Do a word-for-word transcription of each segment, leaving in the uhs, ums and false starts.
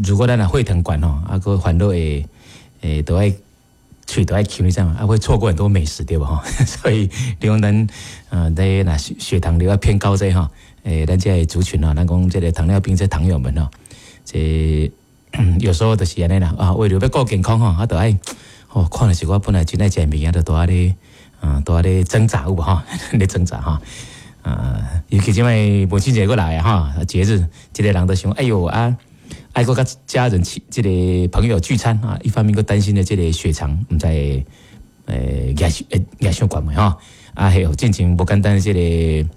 如果咱若血糖懸吼，啊，閣煩惱會會都愛喙都愛抾，你知無？啊，會錯過很多美食，對無吼？所以你講咱呃，咧若血糖了偏高這吼，欸，咱這个族群吼，咱講這个糖尿病這糖友們吼，這有時候就是按呢啦，啊，為了欲顧健康吼，啊，就愛哦，看著是我本來真愛食物件，就都愛咧啊，都愛咧掙扎有無吼？咧掙扎吼。啊，尤其這擺母親節閣來啊，哈，節日，這个人都想，哎喲啊，愛閣佮家人、這个朋友聚餐啊，一方面閣擔心的這个血糖毋知會欸壓會壓傷懸袂吼，啊，還有進前無簡單的這个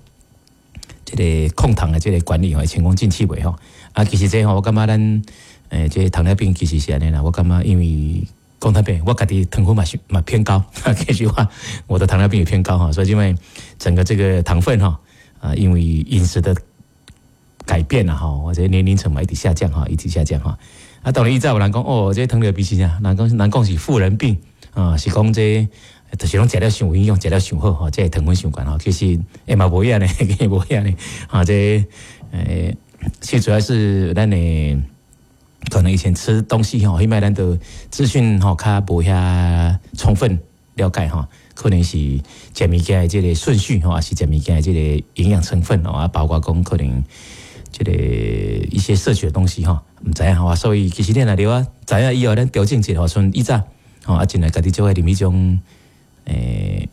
這个控糖的這个管理吼，成功進去袂吼？啊，其實這吼，我感覺咱欸，這个糖尿病其實是按呢啦，我感覺因為講坦白，我家己糖分嘛是嘛偏高，其實我我的糖尿病也偏高哈，所以因為整個這個糖分哈，啊，因為飲食的改變了哈，或者年齡層嘛一直下降哈，一直下降哈。啊，當然以前有人講哦，這個糖尿病是啥？人講人講是富人病啊，是講這就是攏食了傷有營養，食了傷好吼，這個糖分傷懸吼，其實欸嘛無影呢，無影呢，啊，這欸，其實主要是咱的可能以前吃東西吼，彼擺咱的資訊吼較無遐充分了解吼，可能是食物件的這個順序吼，還是食物件的這個營養成分哦，啊，包括講可能這個一些攝取的東西吼，毋知影吼，所以其實你若了啊，知影以後咱調整一下吼，像以早吼，啊，盡量家己做愛啉彼種欸，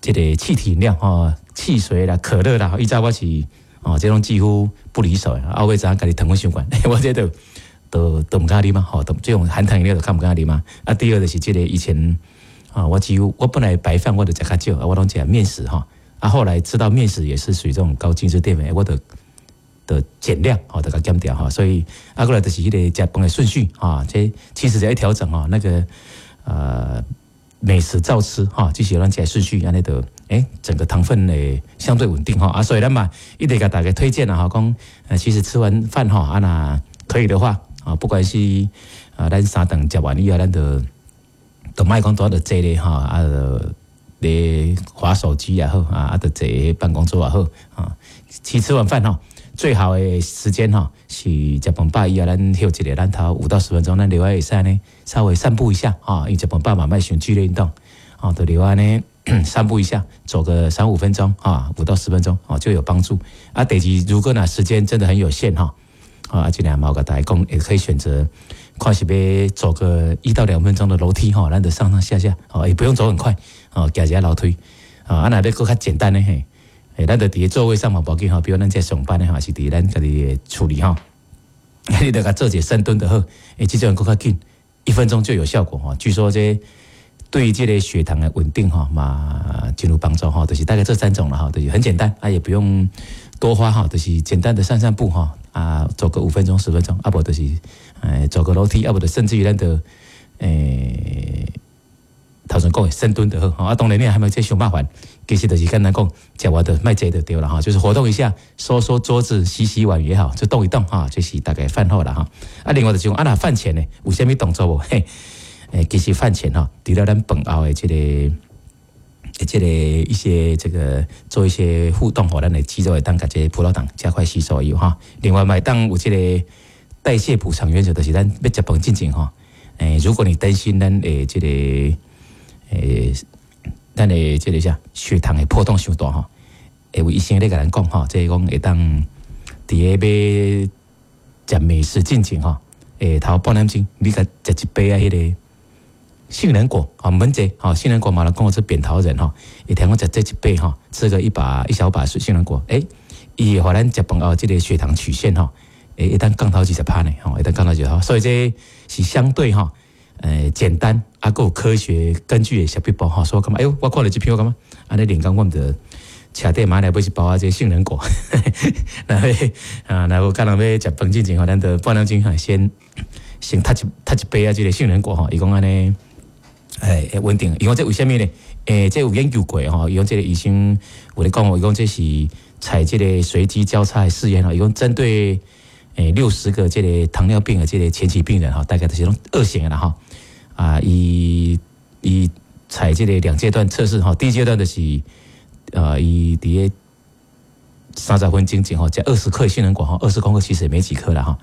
這個氣體飲料吼，汽水啦、可樂啦，以早我是哦，這攏幾乎不離手的，啊，後尾知影家己糖分傷懸，我這都都都毋敢啉嘛，吼，這種含糖飲料就較毋敢啉嘛。啊，第二就是這個以前啊，我幾乎我本來白飯我就食較少，啊，我攏食麵食吼，啊，後來知道麵食也是屬於這種高精緻澱粉，我就的減量，吼，就共減掉吼，所以啊，過來就是彼个食飯的順序啊，這其實只要調整吼，那個呃美食照吃哈，這是咱食順序按呢就欸，整個糖分會相對穩定吼啊，所以咱嘛一直共大家推薦啦吼，講其實吃完飯吼啊，若可以的話啊，不管是啊，咱三頓食完以後，咱就都莫講拄仔就坐咧吼啊，就咧滑手機也好啊，啊，就坐辦公桌也好啊，其實吃完飯吼，最好的時間吼是食飯飽以後，咱歇一下，咱頭五到十分鐘，咱落來會使呢稍微散步一下啊，因為食飯飽嘛，莫傷劇烈運動，啊，就落來呢散步一下，走個三五分鐘啊，五到十分鐘哦就有幫助。啊，第二，如果呢時間真的很有限哈，啊，盡量嘛共大家講，也可以選擇看是欲走個一到兩分鐘的樓梯哈，咱就上上下下哦，也不用走很快哦，行一下樓梯啊，啊，若欲閣較簡單的嘿。欸，咱就佇個座位上嘛，無要緊吼，比如咱這上班的吼，是佇咱家己的厝裡吼，你就共做一個深蹲就好，欸，這種閣較緊，一分鐘就有效果吼。據說這對這個血糖的穩定吼嘛，真有幫助吼，就是大概這三種了哈，就是很簡單，啊，也不用多花哈，就是簡單的散散步哈，啊，走個五分鐘十分鐘，啊，無就是欸走個樓梯，啊，無就甚至於咱的欸。頭先講的深蹲就好，啊，當然你還沒這傷麻煩，其實就是簡單講，食完就莫坐就對了哈，就是活動一下，收收桌子、洗洗碗也好，就動一動哈，這是大概飯後啦哈。啊，另外就是講，啊，若飯前呢，有啥物動作無？嘿，欸，其實飯前哈，除了咱飯後的這个、這个一些這個做一些互動吼，咱的肌肉會當共這個葡萄糖加快吸收以後哈。另外嘛會當有這個代謝補償原則，就是咱欲食飯進前吼，欸，如果你擔心咱的這個欸，咱的這個啥血糖會波動傷大吼，會有醫生咧共咱講吼，這個講會當佇咧欲食美食進前吼，欸，頭半點鐘你共食一杯仔彼个杏仁果啊，毋免濟吼，杏仁果嘛，人講是扁桃仁吼，會聽講食這一杯吼，吃個一把一小把杏仁果，欸，伊會予咱食飯後這個血糖曲線吼，會會當降頭二十趴呢，吼，會當降頭二十趴，所以這是相對吼，欸，簡單啊，閣有科學根據的小撇步吼，所以我感覺，哎喲，我看著這篇我感覺，按呢靈感我毋著車底買來買一包啊，這個杏仁果，若欲啊，若有可能欲食飯進前吼，咱就半點鐘吼，先先吞一吞一杯啊，這個杏仁果吼，伊講按呢，欸，會穩定。伊講這為啥物呢？欸，這有研究過吼，伊講這個醫生有咧講，伊講這是採這個隨機交叉的試驗吼，伊講針對欸六十個這個糖尿病的這個前期病人吼，大概就是攏二型的啦吼。啊，伊伊採這個兩階段測試吼，第一階段就是呃，伊佇咧三十分鐘前吼，食二十克杏仁果吼，二十公克其實也沒幾克啦吼。啊。